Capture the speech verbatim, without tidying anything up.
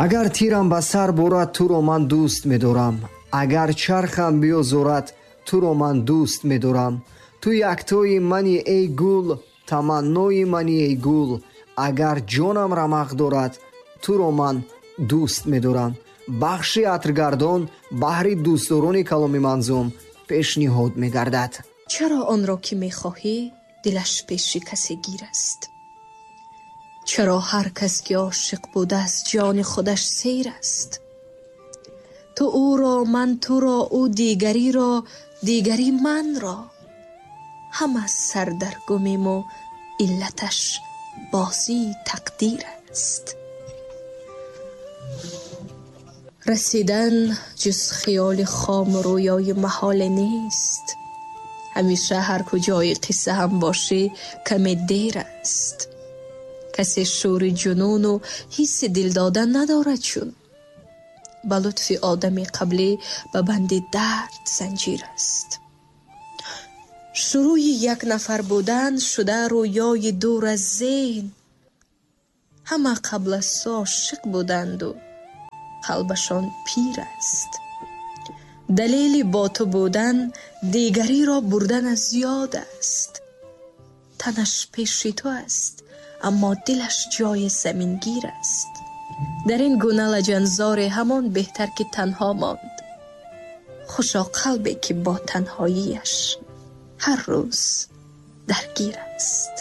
Агар тирам ба сар бурад, туро ман дӯст медорам. Агар чархам биёзорад, туро ман дӯст медорам. Ту яктои мани, эй гул, таманнои мани, эй гул. Агар ҷонам рамақ дорад, туро ман дӯст медорам. Бахши атргардон баҳри дӯстдорони каломи манзум пешниҳод мегардад. Чаро онро ки мехоҳӣ, дилаш пеши касе гир аст? Чаро ҳар кас ки ошиқ будааст, ҷони худаш сер аст? Ту ӯро, ман туро, ӯ дигариро, дигари манро. Ҳама сардаргумему иллаташ бозии тақдир аст. Расидан ҷуз хиёли хому рӯёи маҳоле нест. Ҳамеша ҳар куҷои қисса ҳам бошӣ, каме дер аст. Касе шӯри ҷунуну ҳисси дил додан надорад, чун ба лутфи одами қаблӣ ба банди дард занҷир аст. Шурӯи як нафар будан шуда рӯёи дур аз зеҳн. Ҳама қабл аз ту ошиқ буданду қалбашон пир аст. Далели бо ту будан дигариро бурдан аз ёд аст. Танаш пеши ту аст, аммо дилаш ҷои замингир аст. Дар ин гуна лаҷанзоре ҳамон беҳтар ки танҳо монд. Хушо қалбе ки бо танҳоияш ҳар рӯз даргир аст.